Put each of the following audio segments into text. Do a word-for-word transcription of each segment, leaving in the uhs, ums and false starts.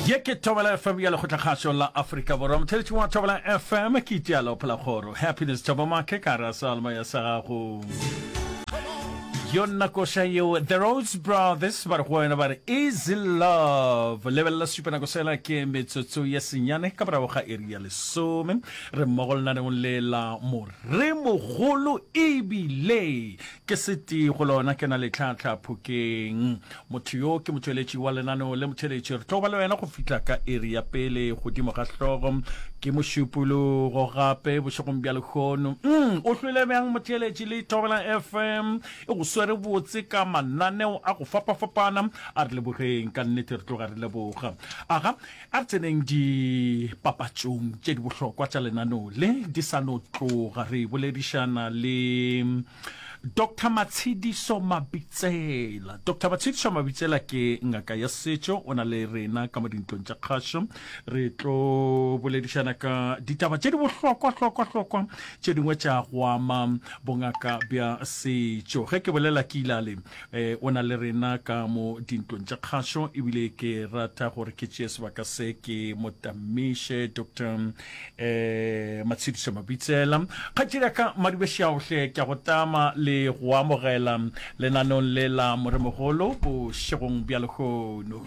Ye ke Thobela F M ya Lekgotlakgašo la Afrika Borwa. Motheletši wa Thobela F M ke Itialo Phelakgoro. Happiness Thabo Make ka ra salma ya sa gago. Yona koša yeo The Rhodes Brothers ba re go wena ba re Easy Love. Lebelela supa nako sela ke metsotso ye senyane ka morago ga iri ya lesome. Re mmogo lenaneong le la Moremogolo ebile ke setee go lona ke na le Tlhahla Phokeng. Motho yo ke motšweletši wa lenaneo le motheletši. Re tlo ba le wena go fihla ka iri ya pele godimo ga hlogo. Ke mošupologo gape bošegong bja lehono. Mm, o hlwele bjang motheletši le Thobela F M e go swere botse ka mananeo a go fapafapana. A re lebogeng ka nnete, re tloga re leboga. Aga, a re tseneng dipapatšong tše di bohlokwa tša lenaneo le di sa no tloga. Re boledišana le Doctor Matshidiso Mabitsela. Doctor Matshidiso Mabitsela ke ngaka ya setšo, o na le rena ka mo dintlong tša kgašo. Re tlo boledišana ka ditaba tše di bohlokwa hlokwa hlokwa tše dingwe tša go ama bongaka bja setšo. Ge ke bolela ke ilale, eh, o na le rena ka mo dintlong tša kgašo, ebile ke rata gore ke tšee sebaka se ke mo tamiše Doctor eh, Matshidiso Mabitsela. Kgaetšedi ya ka Madubešaohle, ke a go tama le go amogela lenaneong le la Moremogolo bošegong bja lehono.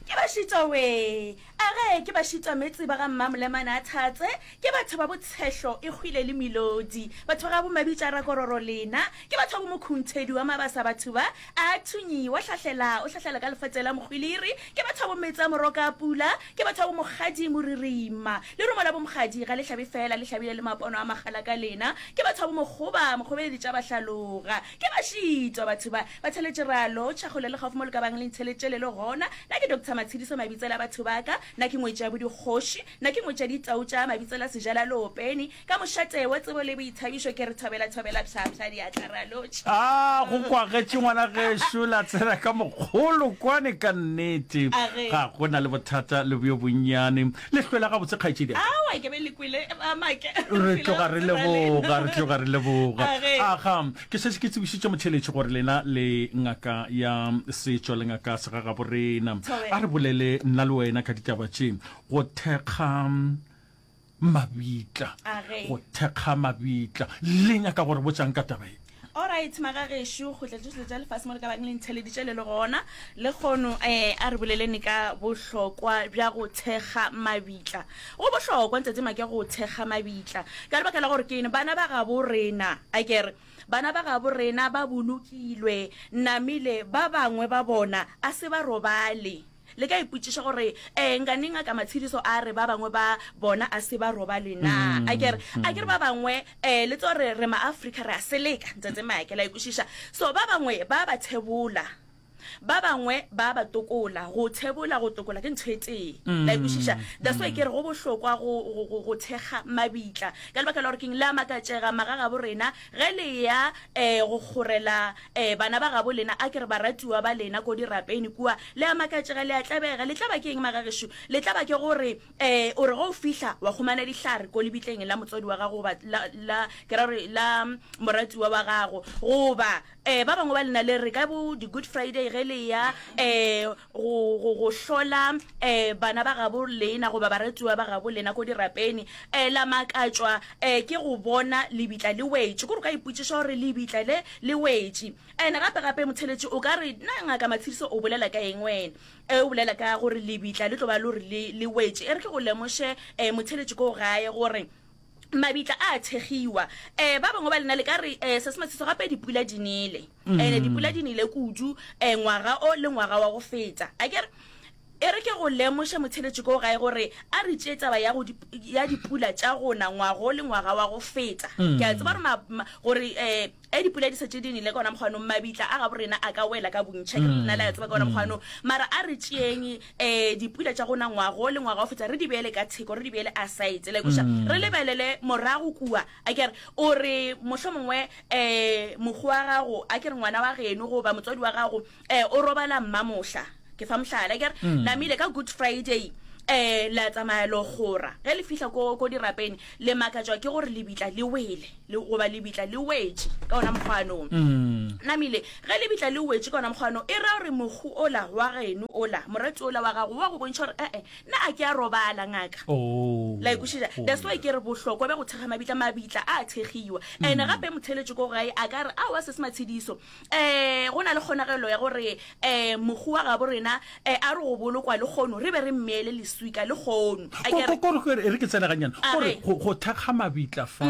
Ke bašitwa we, a ge ke bašitwa metse ba ga Mmamolemane a Thatse, ke batho ba botshehlo e hwile le melodi, batho ba ga bomabitša rakororo lena, ke batho ba bomokhuntshedi wa mabasa, batho ba a thunyi wa hlahlela o hlahlela ka lefatše la mokgwiliri, ke batho ba bometsa moroka a pula, ke batho ba bomokgadi moririma, lerumo la bomokgadi ga le hlabe fela, le hlabile le mapono a magala ka lena, ke batho ba bomokgoba mokgobeledi tša bahlaloga, ke bašitwa batho ba ba theletše ralo tšhakgole le gaufi mo le ka bang le ntheletše le le gona. Nna ke Doctor Matshidiso Mabitsela batho ba ka, nna ke ngwetši ya bodikgoši, nna ke ngwetši ya ditau tša Mabitsela Sejala Leopeni, ka mošate wa tsebo le boithabišo ke re thobela thobela psha psha diatla ra lotšha. A go kwagetše ngwana gešo la tsena ka mokgolo kwane ka nnete. A ge. Ga go na le bothata le bjo bonnyane. Le hlwela gabotse kgaetšedi ya ka. Aowa ke be le kwele ba make. Re tloga re leboga, re tloga re leboga. A ge. Aga, ke šetše ke tsebišitše motheeletši gore lena le ngaka ya setšo le ngaka segagaborena. Thobela. A re bolele nna le wena ka ditaba tše. Go thekga mabitla, A ge. go thekga mabitla. Le nyaka gore botšang ka taba e? Alright, magagešo, kgotla tšohle tša lefase mo le ka bang le ntheleditše le le gona le kgono, eh, a re boleleni ka bohlokwa bja go thekga mabitla. Go bohlokwa ntate Make go thekga mabitla ka lebaka la gore ke eng? Bana ba gabo rena, a ke re bana ba gabo rena ba bolokilwe namile, ba bangwe ba bona a se ba robale. Le ka ipotšiša gore, eh, nka neng ngaka Matshidiso a re ba bangwe ba bona a se ba robale na? A ke re, a ke re ba bangwe, eh, le tseba gore re ma-Afrika re a seleka, ntate Make, la ikwešiša. So ba bangwe ba ba thebola, ba bangwe ba ba tokola. Go thebola, go tokola ke ntho e tee, la ikwešiša. That's why ke re go bohlokwa go, go, go, go thekga mabitla ka lebaka la gore keng, le a makatšega magagabo rena ge le ya, eh, go kgorela, eh, bana ba gabo lena, a ke re baratiwa ba lena ko dirapeni kua, le a makatšega, le a tlabega. Le tlaba ke eng magagešo? Le tlaba ke gore, eh, o re ge o fihla wa humana dihlare ko lebitleng la motswadi wa gago goba la, la, ke ra gore la moratiwa wa gago, goba, eh, ba bangwe ba lena le re ka bo di-Good Friday ge le ya, eh, go, go, go hlola, eh, bana ba gabo lena goba baratiwa ba gabo lena ko dirapeni, eh, la makatšwa, eh, ke go bona lebitla le wetše. Kore o ka ipotšiša gore lebitla le le wetše. And gape gape motheletši o ka re, na ngaka Matshidiso o bolela ka eng wena? Eh, o bolela ka gore lebitla le tlo ba le gore le, le wetše. E re ke go lemoše, eh, motheletši ko gae gore mabitla a thekgiwa. Eh, ba bangwe ba lena le ka re, eh, se se Matshidiso gape dipula di nele. Ene dipula di nele kudu, eh, ngwaga o le ngwaga wa go feta. A ke re, e re ke go lemoše motheletši ko gae gore a re tšee taba ya go ya dipula tša gona ngwago le ngwaga wa go feta. Ke a tseba gore ma, ma, gore, eh, e dipula di šetše di nele ka ona mokgwanong, mabitla a gabo rena a ka wela ka bontši. A ke re lena le a tseba ka ona mokgwanong. Mara a re tšeeng, eh, dipula tša gona ngwago le ngwaga wa go feta, re di beele ka theko, re di beele aside. La kwešiša? Re lebelele morago kua. A ke re, o re mohlomongwe, eh, mokgwa wa gago, a ke re ngwana wa geno goba motswadi wa gago, eh, o robala mmamohla. Ke fa mohlala, ke re namile ka Good Friday, um la tsamaya lo gora ge le fihla ko ko dirapeng le makatšwa ke gore lebitla le wele le goba lebitla le wetše ka ona mokgwanong Mm. namile ge lebitla le wetše ka ona mokgwano e ra gore mohu ola wa geno ola morati ola wa gago wa go bontšha gore ee nna a ke a robala ngaka Oh. la ikwešiša Oh, that's why ke re bohlokwa bja go thekga mabitla mabitla a thekgiwa and gape motheletši ko gae a ka re aowa se se matshediso um go na le kgonagelo ya gore um mohu wa gabo rena um a re go bolokwa le kgono re be re mmeele leswika le kgono A Ko- ke re- ko- ko- ko- e re ke tsena ganyana A gore re. go go thekga mabitla fa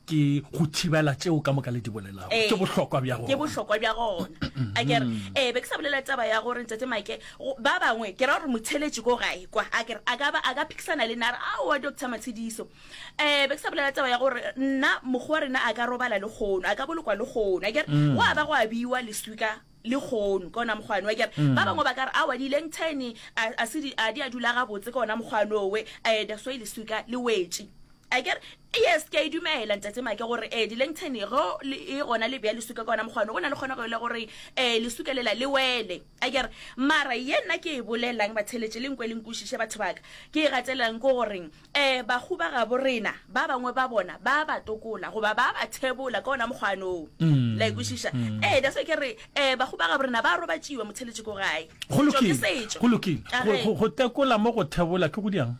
ke go thibela tšeo ka moka le di bolelago Ee. ke bohlokwa bja ke gona bohlokwa bja gona a kere ee be ke sa bolela taba ya gore ntate Mike go- ba bangwe ke ra gore motheletši ko gae kwa a kere a ka ba a ka phikisana le nna a re aowa doctor Matshediso um be ke sa bolela taba ya gore nna mokgwa wa rena a ka robala le kgono a ka bolokwa le kgono a kere go a ba go a biwa leswika le kgono ka ona mokgwane wa kere ba bangwe ba ka re aowa di-lengtene a a se di a di a dula gabotse ka ona mokgwane owe um that's why leswika le wetše a kere yes ke a e dumela ntate Make gore um di-lengtene go le- e gona le bea leswika ka ona mokgwane go na le kgonagelo ya gore um leswika lela le wele a kere mara ye nna ke e bolelang batheletše le nkwe le nkwešiše batho baka ke e gatelang ke goreng um bahu ba gabo rena ba bangwe ba bona ba ba tokola goba ba ba thebola ka ona mokgwane oo la ikwešiša ee that's why ke re um bahu ba gabo rena ba robatšiwa motheletše ko gae go Setšo ke lokile setšo. go lokile A Go- ge. go go tekola mo go thebola ke go diang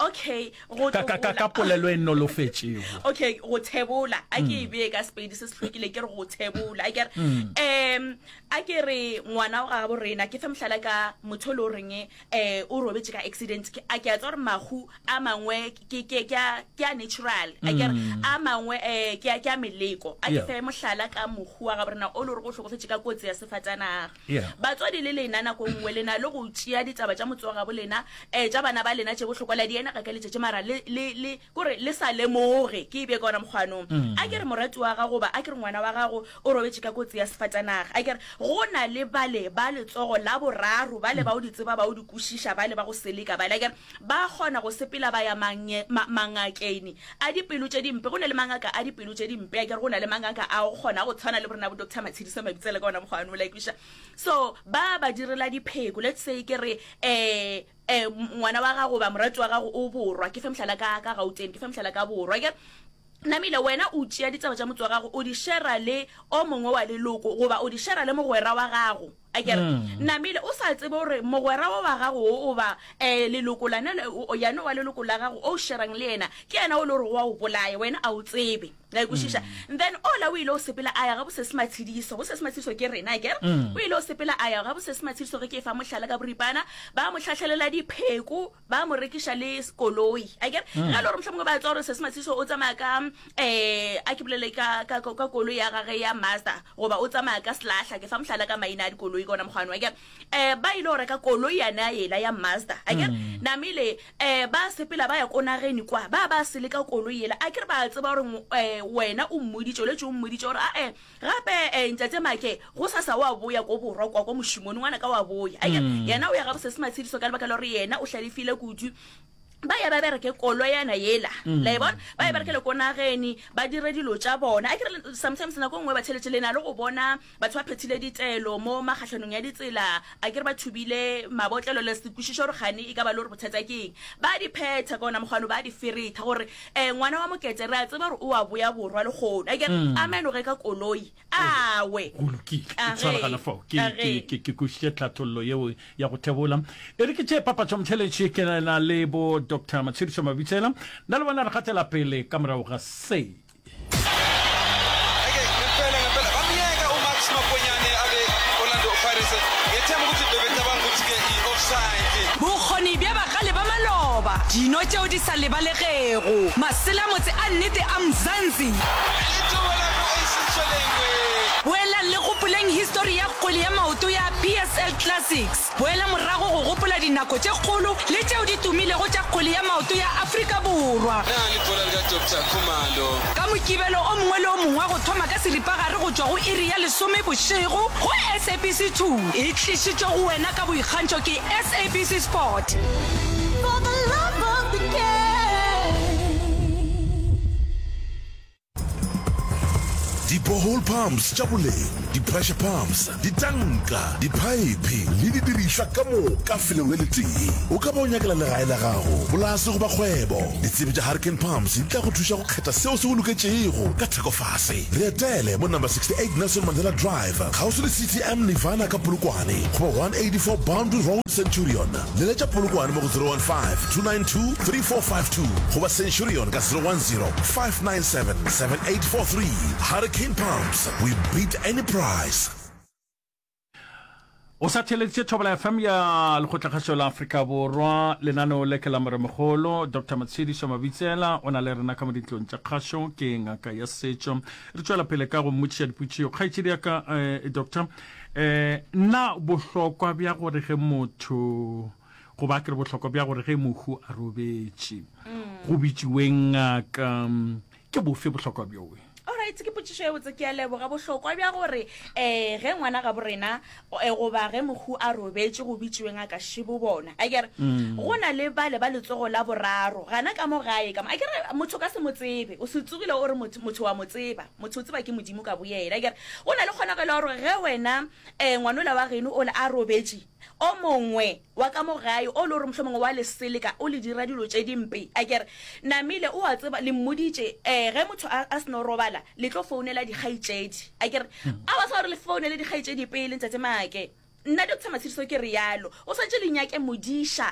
okay go ka ka ka ka tokola. polelo e nolofetšego okay go thebola a ke e bee ka sepedi se se hlwekile ke re go thebola a ke re um a ke re ngwana wa gabo rena ke fe mohlala ka motho o le goreng um o robetše ka accident Ke- a ke a tsa gore mahu a mangwe ke ke- ke a ke a natural a ke re a mangwe um ke a ke a meleko a ke Yeah. fe mohlala ka mohu wa gabo rena o le gore o hlokofetše ka kotsi ya sefatanaga Yeah. batswadi le lena nako nngwe le na le go tšea ditaba tša motse wa gabo lena um tša bana ba lena tše bohlokwa la di ena ga ka letšatši mara le le le kore le sa lemoge ke e bee ka ona mokgwanong a ke re morati wa gago goba a ke re ngwana wa gago o robetše ka kotsi ya sefatanaga a ke re go na le bale ba letsogo la boraro bale ba o di tseba ba o di kwešiša bale ba go seleka bale a ke re ba kgona go sepela ba ya mange- ma- mangakeng a dipelo tše dimpe go na le mangaka a dipelo tše dimpe a ke re go na le mangaka a go kgona go tshwana le borena bo doctor Matshediso Mabitsela ka ona mokgwane o la ikwešiša so ba ba direla dipheko let's say ke re um um ngwana wa gago ba morati wa gago o borwa ke fe mohlala ka ka Gauteng ke fe mohlala ka borwa ke namile wena o tšea ditaba tša motse wa gago o di shera le o mongwe wa leloko goba o di shera le mogwera wa gago a kere namile o sa tsebe gore mogwera wa wa gago o ba um leloko lane le- o- yane wa leloko la gago o sherang le yena ke yena o le gore wa o bolaya wena a o tsebe la ikwešiša then ola o ile o sepela a ya ga bosese matshediso bosese matshediso ke rena akere o ile o sepela a ya ga bosese matshediso ge ke e fa mohlala ka boripana ba mo tlhatlhelela dipheko ba mo rekiša le koloi akere ge e le gore mohlomongwe ba tseba gore sese matshediso o tsamaya ka um a ke bolele ka ka- ka koloi ya gage ya Mazda goba o tsamaya ka selahla ke fa mohlala ka maina a dikoloi ka ona mokgwane akere um ba ile go reka koloi yana yela ya Mazda akere namile um ba sepela ba ya ko nageng kwa ba ba seleka koloi yela a kere ba tseba gore um wena o mmoditše o letse o mmoditše gore ae gape um ntate Make go sasa wa boya ko borwa kwa ko mošomong ngwana ka wa boya akere yena o ya ga bosese matshediso ka lebaka la gore yena o hlalefile kudu ba ya ba bereke koloyana yela la e bona ba e berekele ko nageng ba dire dilo tša bona a kere sometimes nako e nngwe ba tšhelete le na le go bona batho ba phethile ditelo mo makgahlanong ya ditsela a kere ba thubile mabotlelo le se kwešiše gore gane e ka ba le gore bothata ke eng ba di phetha ka ona mokgwano ba di feretha gore um ngwana wa mokete re a tseba gore o a boya borwa le kgono a kere amen o reka koloi awe Go lokile A ke tshwaragana ge, fao ke a ke ge. ke ke kwešiše tlhathollo yeo ya go thebola e re ke tše papatšo motheletši ke na le bo Doctor Matshediso Mabitsela nna le bona re gatela pele ka morago ga se Eke ngempela ngempela bamyeka uMax Maponyane abe Orlando Pirates ngethemba ukuthi bebecabanga ukuthi ke i-offside Bokgoni bja bagale ba maloba, dino tšeo di sa lebalegego, maselamotse a nnete a Mzansi. Lithuba lakho esitshwelengwe Boelang le gopoleng histori ya kgwele ya maoto ya P S L Classics. Boela morago go gopola dinako tše kgolo le tšeo di tumilego tša kgwele ya maoto ya Afrika Borwa. Na libhola lika Doctor Khumalo Ka Mokibelo o mongwe le o mongwe wa go thoma ka seripagare go tšwa go iri ya lesome bošego go S A B C two. E tlišitšwe go wena ka boikgantšho ke S A B C Sport. For the love of the game. Dipoelo Di-borehole pumps tša boleng, di-pressure pumps, ditanka, diphaephe le didirišwa ka moka felong le letee. O ka ba o nyakela legae la gago, polase goba kgwebo. Ditsebi tša Hurricane Pumps di tla go thuša go kgetha seo se go loketšego ka theko fase. Re etele mo number sixty-eight Nelson Mandela Drive, kgauswi le C T M Nirvana ka Polokwane goba one eighty-four Boundary Road, Centurion. Leletša Polokwane mo go zero one five, two nine two, three four five two goba Centurion ka zero one zero, five nine seven, seven eight four three. Hurricane Pumps, we beat any price. O sa theeleditše Thobela F M ya Lekgotlakgašo la Afrika Borwa. Lenaneo le ke la Moremogolo Doctor Matshediso Mabitsela o na le rena ka mo dintlong tša kgašo, ke ngaka ya setšo. Re tšwela pele ka go mmotšiša dipotšišo. Kgaetšedi ya ka, eh, Doctor, eh, na bohlokwa bja gore ge motho goba ke re bohlokwa bja gore ge mohu a robetše go bitšiwe ngaka, ke bofe bohlokwa bjowe? Alright, ke potšišo ye botse, ke a leboga. Bohlokwa bja gore, eh, ge ngwana ga borena, eh, goba ge mohu a robetše go bitšiwe ngaka šibo bona. A ke re, go na le bale ba letsogo la boraro gana ka mo gae ka mo. A ke re, motho ka se mo tsebe, o se tsogile o re motho, motho wa mo tseba, motho o tseba ke Modimo ka boyena. A ke re, go na le kgonagelo ya gore ge wena, eh, ngwanola wa geno o le a robetše, o mongwe wa ka mo gae o le gore mohlomongwe wa le seleka o le dira dilo tše dimpe. A ke re, namile o a tseba, le mmoditše, eh, ge motho a, a seno robala le tlo founela dikgaetšedi. A ke re, a ba sa gore le founele dikgaetšedi pele, ntate Maake. Nna Doctor Matshediso ke re yalo, o swanetše le nyake modiša,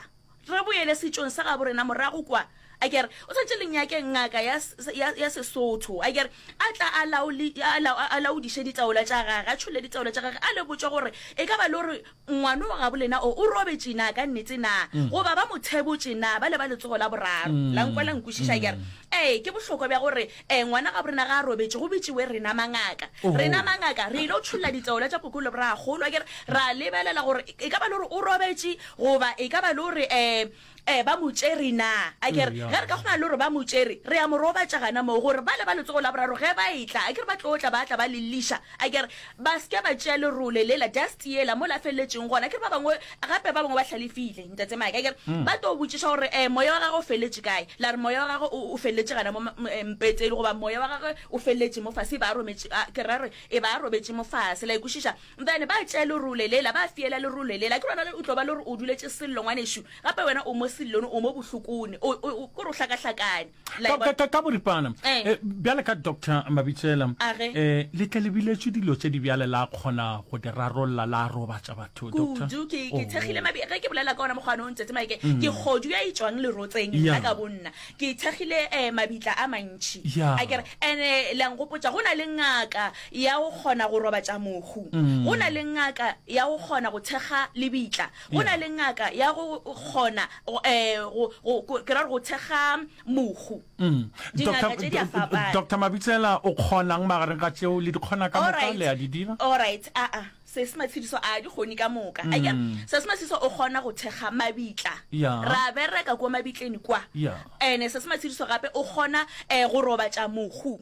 re boele setšong sa gabo rena morago kwa. A ke re, o swanetše le nyake ngaka ya, ya, ya Sesotho. A ke re, a tla a laoli, a lau-, a laodiše ditaola tša gage, a tšholle ditaola tša gage, a le botše gore e ka ba le gore ngwana wa gabo lena o, o robetše na ka nnete na, goba ba mo thebotše na, ba le ba letsogo la boraro. La nkwa la nkwešiša? A ke re, ee, ke bohlokwa bja gore, eh, ngwana gabo rena ga a robetše, go bitšiwe rena mangaka. Rena mangaka re ile go tšholla ditaola tša koko le boragolo. A ke re, ra lebelela gore e ka ba le gore o robetše, goba e ka ba le gore, eh, eh, ba mo tšere na. A ke re, ge re ka kgona le gore ba mo tšere, re a mo robatša gana moo, gore ba le ba letsogo la boraro ge ba etla, a ke re ba tlo tla, ba tla ba le lliša. A ke re, ba se ke ba tšea lerole lela, dust yela, mo la feleletšeng gona. A ke re ba bangwe, gape ba bangwe ba hlalefile, ntate Mike. A ke re, ba tlo botšiša gore, eh, moya wa gagwe o feleletše kae? La re moya wa gagwe o, o feleletše gana mo, eh, mpetseng, goba moya wa gagwe o feleletše mo fase, e ba a rometše, a, ke ra re, e ba a robetše mo fase. La ikwešiša? Then ba tšea lerole lela, ba fiela lerole lela. Ke rona o tlo ba le gore o duletše sello, ngwanešu. Gape wena o mo sellong, o mo bohlokong, o, o, o, kore o hlakahlakane. La Ka, e bona? ka, ka, ka boripana, Eh. eh, bjale ka Doctor Mabitsela, A ge? eh, le tle le biletšwe dilo tše di bjale la kgona go di rarolla, la robatša batho, Doctor? Kudu, ke, ke Oh. thekgile mabi-, ge ke bolela ka ona mokgwa ono, Ntate Mike, ke kgodu ya e tšwang lerotseng, Yeah. nna ka bonna. Ke thekgile, eh, mabitla a mantši. Yeah. A ke re, ene, le a nkgopotša, go na le ngaka ya go kgona go robatša mohu. Go na le ngaka ya go kgona go thekga lebitla. Go na le ngaka ya go kgona, go, eh, go, go, go, ke ra gore go thekga mohu. Mm. Dingaka Doctor, tše di a fapana. Doctor Mabitsela, o kgonang magareng ga tšeo le di kgona ka moka, Alright. le a di dira? Alright, a-a, se se Matshediso a di kgone ka moka. A ke re, se se Matshediso o kgona go thekga mabitla. Yeah. Ra bereka kwa mabitleng kwa. Yeah. Ene se se Matshediso gape o kgona, eh, go robatša mohu.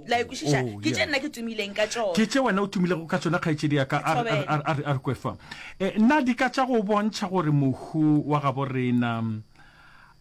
La ikwešiša? Oh, Ke tše yeah. nna ke tumileng ka tšona. Ke tše wena o tumilego ka tšona, kgaetšedi ya ka, a re, a re, a re, a re kwe fa. Eh, na di ka tša go bontšha gore mohu wa gabo rena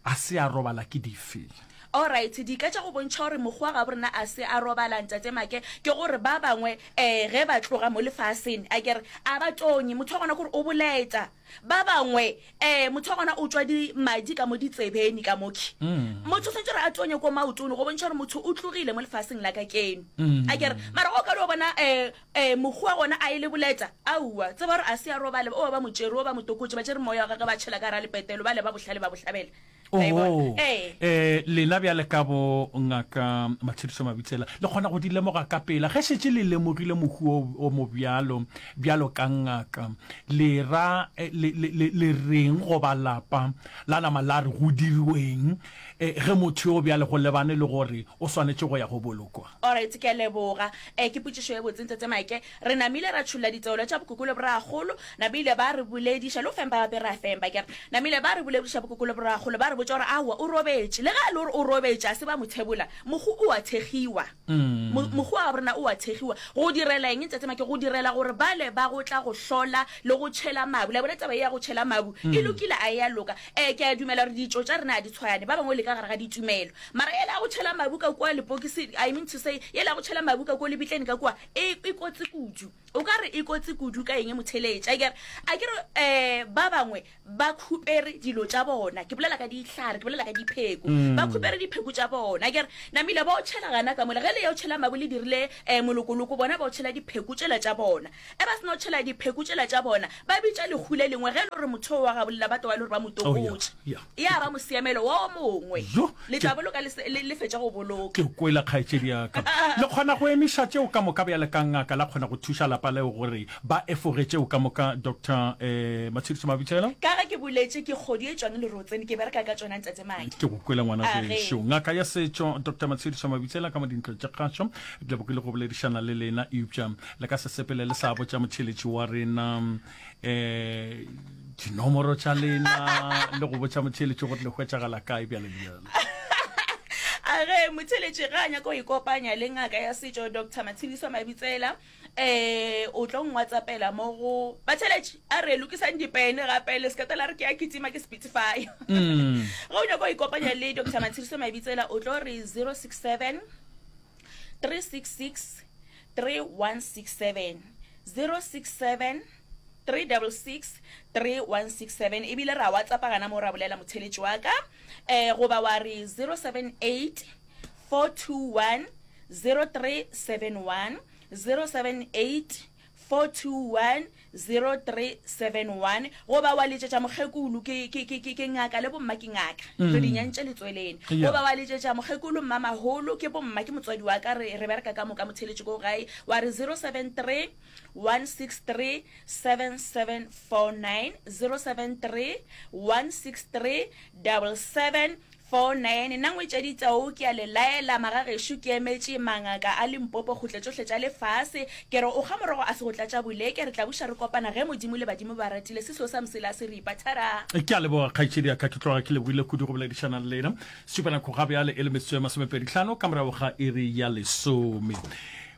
a se a robala ke dife? Alright, di ka tša go bontšha gore mohu wa gabo rena a se a robala, Ntate Make, ke gore ba bangwe, eh, ge ba tloga mo lefaseng, a ke re, a ba tonye. Motho wa gona ke gore o boleta. Ba bangwe, eh, motho wa gona o tšwa di madi ka mo ditsebeni ka moki. Motho o swanetše gore a tonye ko maotong go bontšha gore motho o tlogile mo lefaseng la ka keno. A ke re, mara o ka dio bona, eh, eh, mohu wa gona a e le boleta, aowa, tseba gore a se a robale, o ba mo tšere, o ba mo tokotše, ba tšere moya wa gagwe ba tšhela ka gare ga lepetelo, ba le ba bohlale ba bohlabela. La e bona? Oh, Ee. eh, lena bjale ka bo ngaka Matshediso Mabitsela, le kgona go di lemoga ka pela. Ge šetše le lemogile mohu o, o mo bjalo, bjalo ka ngaka, le ra, eh, le, le, le, le reng goba lapa la nama la re go diriweng, eh, ge motho yo bjale go lebane le gore o swanetše go ya go bolokwa? Alright, ke a leboga. Eh, ke potšišo ye botse, Ntate Mike. Re namile ra tšholla ditaolo tša bokoko le boragolo, namile ba re bolediša, le go fempa gape ra fempa, ke re, namile ba re bolediša bokoko le boragolo, ba re botša gore aowa o robetše. Le ge a le gore o robetše a se ba mo thebola, mohu o a thekgiwa. Mohu wa gabo rena o a thekgiwa. Go direla eng, Ntate Make? Go direla gore bale ba go tla go hlola le go tšhela mabu. Le a bona taba ye ya go tšhela mabu e lokile a e a loka? Ee, ke a dumela gore ditšo tša rena a di tshwane, ba bangwe le ka gare ga ditumelo. Mara yela ya go tšhela mabu ka kua lepokisi, I mean to say, yela ya go tšhela mabu ka kua lebitleng ka kua, e, e kotsi kudu. O ka re e kotsi kudu ka eng, motheeletši? A ke re, a ke re, um ba bangwe ba khupere dilo tša bona. Ke bolela ka dihlare, ke bolela ka dipheko. Ba khupere dipheko tša bona. A ke re, namile ba o tšhela gana ka mola. Ge le ya o tšhela mabu le dirile um molokoloko, bona ba o tšhela dipheko tšela tša bona. E ba se no tšhela dipheko tšela tša bona, ba bitša lehu le lengwe, ge e le gore motho oo wa gabolela ba tloga e le gore ba mo Oh, ya, tokotše. ya. Ya ba mosiamelo wo mongwe. Yo, Le ke, tla boloka le se, le, le fetša go boloka. Ke kwele, kgaetšedi ya ka. Le kgona go emiša tšeo ka moka bjale ka ngaka, la kgona go thuša lapa leo gore ba efoge tšeo ka moka, Doctor eh, Matshediso Mabitsela? Ka ge ke boletše, ke kgodu e tšwang lerotseng, ke bereka ka tšona, Ntate Maki. Ke go kwele, ngwana A ge. gešo. Ngaka ya setšo, Doctor Matshediso Mabitsela, ka mo dintlong tša kgašo. Ke lebogile go boledišana le lena, eupša le ka se sepele le sa botša motheeletši wa rena um dinomoro tša lena le go botša motheeletši gore le hwetšagala kae bjale le bjale. A ge motheeletši ge a nyaka go ikopanya le ngaka ya setšo Doctor Matshediso Mabitsela um o tlo ngwatsapela mo go batheeletši a re lokisang dipene gape le sekata la re ke a kitima ke Spotify. Mm. Ge o nyaka go ikopanya le Doctor Matshediso Mabitsela o tlo re zero six seven three six six three one six seven zero six seven three double six three one six seven ebile ra WhatsAppa gana mo ra bolela motheeletši wa ka um goba wa re zero seven eight four two one zero three seven one zero seven eight four two one zero three seven one goba wa letšetša mokgekolo ke, ke, ke, ke, ke ngaka le bomma ke ngaka re di nyantše letsweleng Yeah. goba wa letšetša mokgekolo mmamaholo ke bomma ke motswadi wa ka re, re bereka ka moka motheeletši ko gae wa re zero seven three one six three seven seven four nine zero seven three one six three double seven four nine Nna ngwetšedi Tau ke a le laela magagešo ke emetše mangaka a Limpopo kgotle tšohle tša lefase ke re o kga morogo a se go tlatša boleke re tla buša re kopana ge Modimo le badimo ba ratile se seo sa mosela se ripa thara. Ke a leboga kgaetšedi ya ka, ke tloga ke lebogile kudu go boledišana le lena. Šupa nako ga bjale e le metsotso e masomepedi hlano ka morago ga iri ya lesome.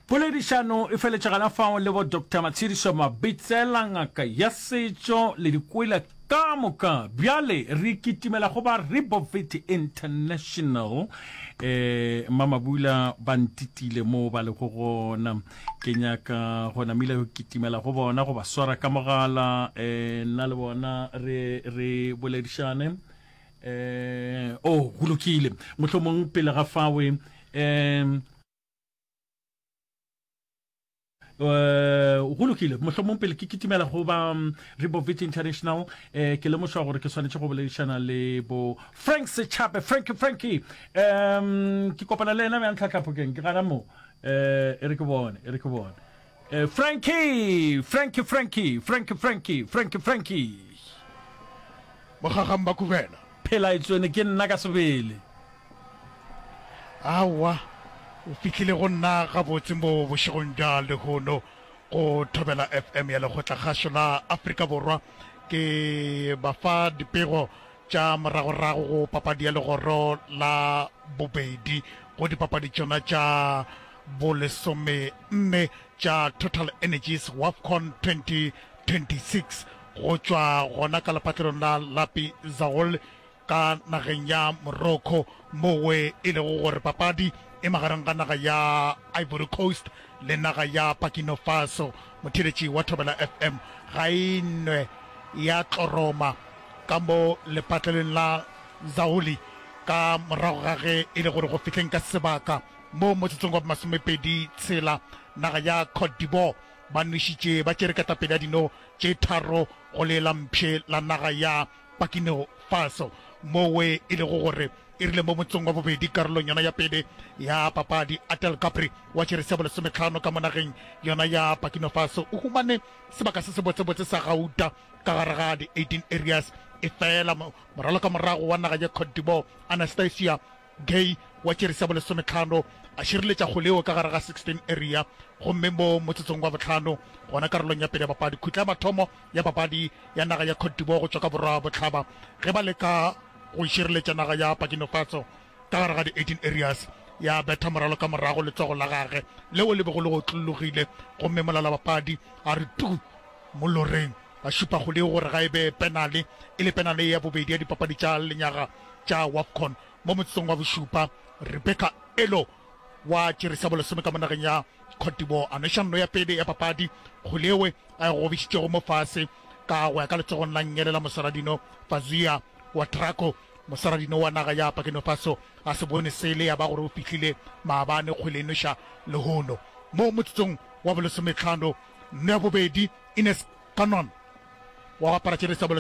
Poledišano e feletše gona fao le bo Doctor Matshediso Mabitsela, ngaka ya setšo le dikwela ka moka. Bjale re kitimela go ba Rebovit International. Eh, Mmamabula ba ntitile mo ba lego gona. Ke nyaka go namile go kitimela go bona, go ba swara ka mogala, eh, nna le bona re, re boledišane. Eh, oh, go lokile. Mohlomong pele ga fawe, eh, Eh, go lokile mohlomong pele ke kitimela go ba mm, Rebovit International eh, ke lemošwa gore ke swanetše go boledišana le bo Frank Sechape Frankie Frankie um ke kopana le yena bjang tlhatlhaphokeng ke gana mo eh, e re ke bone e re ke bone eh, Frankie Frankie Frankie Frankie Frankie Frankie Frankie Mogagang ba Kubena. Phela e tswene ke nna ka sebele. Aowa, o fihlile go nna gabotse mo bošegong bja lehono go Thobela F M ya Lekgotlakgašo la Afrika Borwa. Ke ba fa dipego tša moragorago go papadi ya legoro la bobedi go dipapadi tšona tša bolesomenne tša Total Energies WAFCON twenty twenty-six go tšwa gona ka lepatlelong la Lapi Zaol ka nageng ya Morocco, mowe e lego gore papadi e magareng ga naga ya Ivory Coast le naga ya Burkina Faso. Motheeletši wa Thobela F M ga e nwe ya tloroma ka mo lepatlelong la Zaoli ka morago ga ge e le gore go fihleng ka sebaka mo motsotsong wa masomepedi tshela naga ya Cote d'Ivoire ba nwešitše ba tšere ketapele ya dino tše tharo go le la mpšhe la naga ya Burkina Faso, mowe e lego gore e rile mo motsong wa bobedi karolong yona ya pele ya papadi, Atel Gabri wa tšerese ya bolesometlhano ka mo nageng yona ya Burkina Faso o humane sebaka se sebotsebotse sa gauta ka gare ga di eighteen areas. Efela moralo ka morago wa naga ya Cote d'Ivoire Anastasia Gay wa tšerese ya bolesometlhano a šireletša kgole yeo ka gare ga sixteen area, gomme mo motsotsong wa bohlano gona karolong ya pele ya papadi, khutla ya mathomo ya papadi ya naga ya Cote d'Ivoire go tšwa ka borwa bohlaba ge ba leka go šireletša naga ya Burkina Faso ka gare ga di eighteen areas, ya betha moralo ka morago letsogo la gage leo le bego le otlologile, gomme molalabapadi a re tu mo loreng, a šupa kgole gore ga e be penale, e le penale ya bobedi ya dipapadi tša lenyaga tša WAFCON. Mo motsotsong wa bošupa, Rebecca Elo wa tšere sa bolesome ka mo nageng ya Cote d'Ivoire a nweša nno ya pele ya papadi, kgole yeo a e gobišitšego mo fase ka go ya ka letsogong la nngele la moswaradino Fazia Ouedraogo. Moswaradino wa naga ya Burkina Faso a se bone sele ya ba gore o fihlile maabane kgwele e nweša lehono. Mo motsotsong wa bolesometlhano, nno ya bobedi, Ines Kanon wa go apara tšere sa bolesome